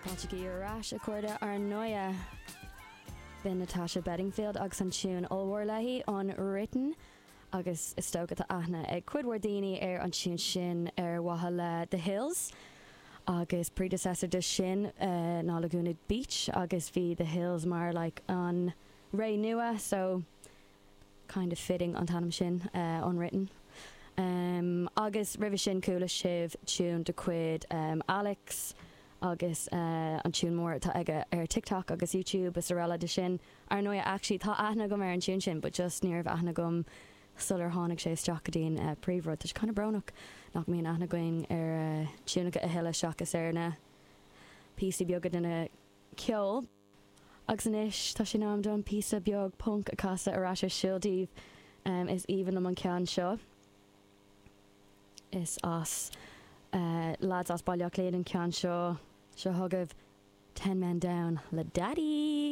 Fáilte ar ais, a chairde, ar ndóigh. B'in Natasha Bedingfield agus an tiún ollmhór léi, Unwritten, agus is dócha tá aithne ag cuid mhór daoine ar an tiún sin ar mhaithe le The Hills agus predecessor de sin ná Laguna Beach agus bhí The Hills mar like an ré nua so kind of fitting an t-ainm sin, Unwritten. Agus roimhe sin chuala sibh tiún de chuid Alex agus an tiún mór atá aige ar TikTok agus YouTube is araile de sin. Ar ndóigh actually tá aithne agam ar an tiún sin but just ní raibh aithne agam sular tháinig sé isteach go dtí an príomhrud. Tá sé kind of brónach nach mbíonn aithne againn ar tiúnacha a thuilleadh seachas ar na píosaí beaga de na ceol. Agus anois, tá sé in am dom píosa beag punc a chasadh ar ais ar siúl daoibh. Is aoibhinn liom an ceann seo. Is as lads as Baile Átha Cliath an ceann seo. Seo chugaibh Ten Men Down le Daddy!